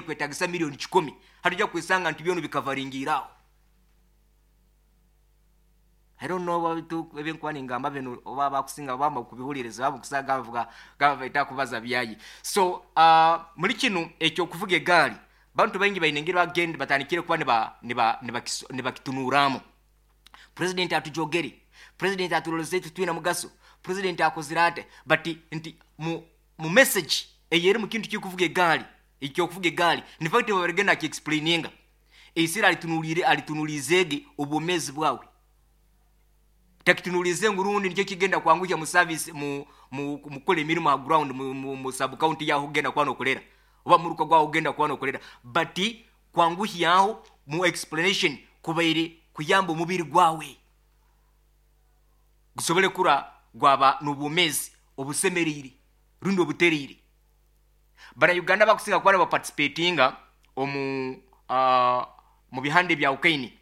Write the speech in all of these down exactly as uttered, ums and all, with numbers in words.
Kwetagisa miliyoni kikumi, hatujja kwesanga nti byono bikavaringiraho. I don't know what ebyenkuba ningamba bino, oba bakusinga bamba kubihuliriza, baba kusaga bavuga gaba baita kubaza byayi. So uh, muri kino ekyokuvuga egaali, bantu baingi baine engeri bagenda batandikire kuba niba niba nibakitunuramu. President atujogere, president atuloleze, tutwina mugaso, president akozire ate. But nti mu, mu message eyeri mu kintu kikuvuga egaali, ekyokuvuga egaali, in fact babarigenda akiexplaininga eisira alitunulire, alitunulizeege obwomezi bwawe, takitunulize ngurundi nikyo kigenda kwanguhya mu service, mu mu mukola emirimu ha ground, mu, mu, mu sub county yaho ugenda kuba nokolera, oba muruka gwaho ugenda kuba nokolera. But kwanguhyaho mu explanation kubaire kuyamba omubiri gwawe gusobole kura gwaba n'obwomezi obusemerire rundi obuteriire. Bannayuganda bakusinga kuba nibaparticipatinga omu uh, mu bihande bya ukaini,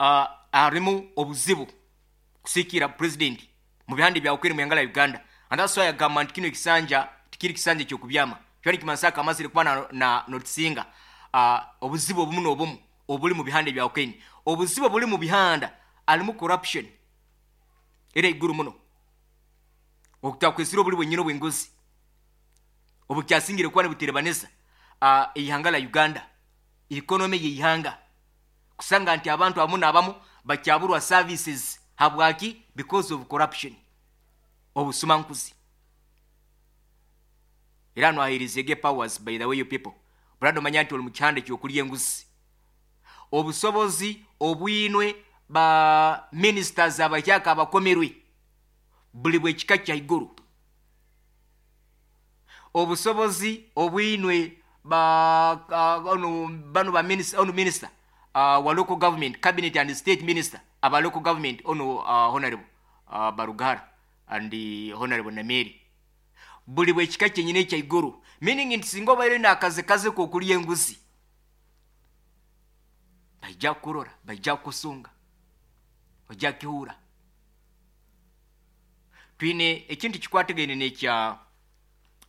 uh, harimu obuzibu kusikira president mu bihande bya ukaini mu la Uganda. And that's why agamba nti kino ekisanja tikiri kisanja ekyokubyama kyali kimansaka amazire kuba na, na notisinga uh, obuzibu obumu n'obumu obuli mu bihande bya ukaini. Obuzibu obuli mu bihanda alimu corruption era iguru muno, okutakwesira obuli bwenyine obwenguzi obukyasingire kuba nibuterebanisa uh, eihanga la Uganda, economy yeihanga, kusanga nti abantu abamu n'abamu bakyaburwa services. Habwaki? Because of corruption, obusumankuzi. Era nwahirizege powers. By the way, you people, brado, omanya nti oli mu kihanda ekyokulya enguzi. Obusobozi obwinwe ba ministers abakyaka abakomerwe buli bwekika kya iguru. Obusobozi obwinwe ba uh, ono bano ba minister, ono minister uh, wa local government, cabinet and state minister aba local government, ono uh, Honorable uh, Barugahara and uh, Honorable Nameri, buli bwekika kyenyina ekyaiguru, meaning nti singa obaire nakaze kaze kokulya enguzi, baija kukurora, baija kukusunga, ojja kihura. Twine ekintu kikwatagaine nekya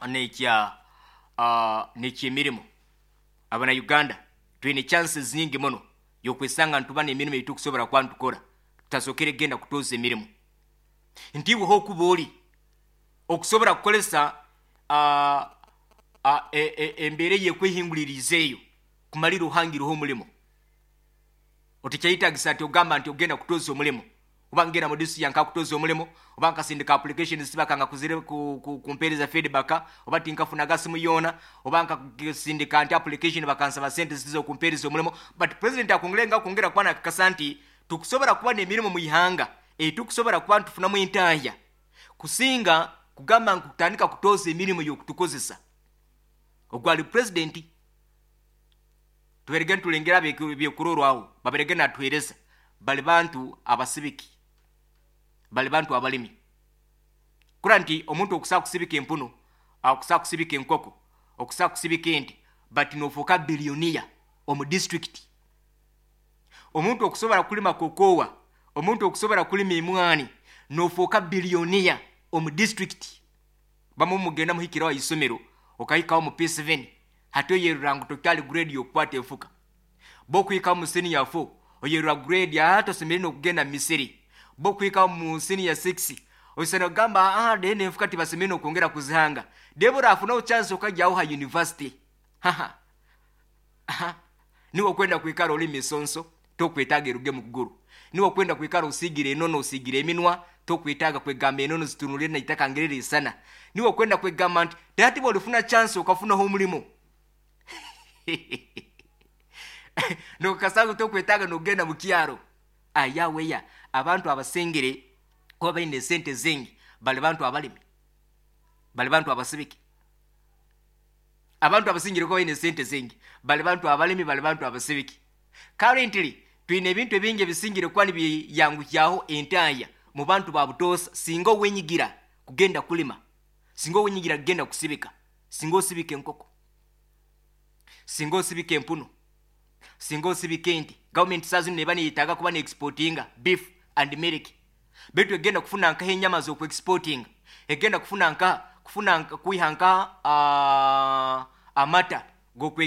nekya uh, nekyemirimu. Abana Uganda twine chances nyingi muno yokwesanga ntuba nemirimu eitukusobora kuba ntukora, tutasokere genda kutoza emirimu. Nti iwe hokuba oli okusobora kukolesa uh, uh, e, e, embeera eyekwehinguliriza eyo kumalira ohangireho omulimu, otekyayitagisa nti ogamba nti ogenda kutoza omulimu, oba ngenda mu district yanka kutoza omulimu, oba nkasindika application sibakanga kuzire ku, ku, kumpeereza feedback, oba tinkafunaga simu yoona, oba nkasindika nti application bakansaba sente zizo okumpeereza omulimu. But president akongere nga kwongera kuba nakakasa nti tukusobola kuba n'emirimu mu ihanga etukusobola kuba ntufunamu entahya kusinga kugamba nkutandika kutoza emirimu y'okutukozesa. Ogwali president tuberege ntulengera byekurorwaho, baberege natuhereza bali bantu abasibiki, bali bantu abalimi. Kura nti omuntu okusaa kusibika empuno, okusaa kusibika enkoko, okusaa kusibika ente, but nofuuka billionaire omu district. Omuntu okusobola kulima kokowa, omuntu okusobola kulima emwani, nofuuka billionaire omu district. Bamu mugenda muhikirawo isomero, okahikawo mu P seven, hati oyerura ngu tokyali grade yokukwata enfuka. Bokuhikawo mu senior four, oyerura grade aa tosemere nokugenda misiri. Bokuhikawo mu senior six, osana kugamba, ah, dene enfuka tibasemere nokwongera kuzihanga. Debora afunawo chance okajyawo ha university, haha, aha, niwe okwenda kwikara oli misonso, tokwetaaga eruge mu kuguru. Niwe okwenda kwikara osigire enono, osigire eminwa, tokwetaaga kwegamba enono zitunulire naitaka ngerere isana. Niwe okwenda kwegamba nti tati bwolifuna chance okafunaho omulimu nokasanga tokwetaaga nokugenda mu kyaro ayaweya. Abantu abasengere kuba balina esente zingi bali bantu abalimi, bali bantu abasibiki. Abantu abasingire kuba balina esente zingi bali bantu abalimi, bali bantu abasibiki. Currently twine ebintu ebingi ebisingire kuba nibiyanguhyaho entaya mu bantu ba butoosa. Singa owenyigira kugenda kulima, singa owenyigira kugenda kusibika, singa osibika enkoko, singa osibika empuno, singa osibika ente, gavumenti saa zino neba neyetaaga kuba neexportinga beef and milk, baitu egenda kufuna nkaho enyama z'okuexportinga, egenda kufuna nka kufuna nka kwiha nka uh, amata g'okwe